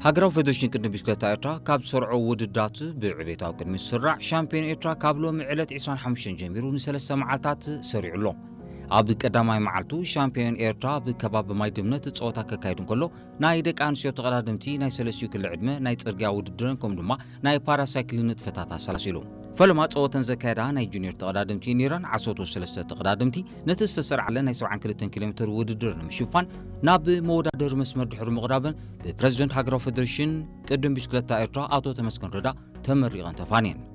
ሃገራዊ ፌደሬሽን ቅድድም ብሽክለታ ኤርትራ ካብ ዝሰርዖ ውድድራት ብዕቤት ኣብ ቅድሚት ዝስራዕ ሻምፒዮን ኤርትራ ካብ ሎሚ ዕለት ዕስራን ሓሙሽተን ጀሚሩ ንሰለስተ መዓልታት ሰሪዑ ኣሎ። ኣብ ቀዳማይ መዓልቱ ሻምፒዮን ኤርትራ ኣብ ከባቢ ማይ ድምነት ጸወታ ከካይድ እንከሎ፣ ናይ ደቂ ኣንስትዮ ተቐዳደምቲ ናይ ሰለስቲኡ ክሊ ዕድመ ናይ ጽርግያ ውድድርን ከምኡ ድማ ናይ ፓራሳይክሊን ንጥፈታት ኣሰላሲሉ። ፈለማ ጸወተን ዘካየዳ ናይ ጁኒየር ተቐዳደምቲ ነይረን። ዓሰርተ ሰለስተ ተቐዳደምቲ ነቲ ዝተሰርዓለን ናይ ሰብዓን ክልተን ኪሎ ሜትር ውድድር ንምሽፋን ናብ መወዳደሪ መስመር ድሕሪ ምቕራበን ብፕረዚደንት ሃገራዊ ፌደሬሽን ቅድድም ብሽክለታ ኤርትራ ኣቶ ተመስገን ረዳ ተመሪቐን ተፋንየን።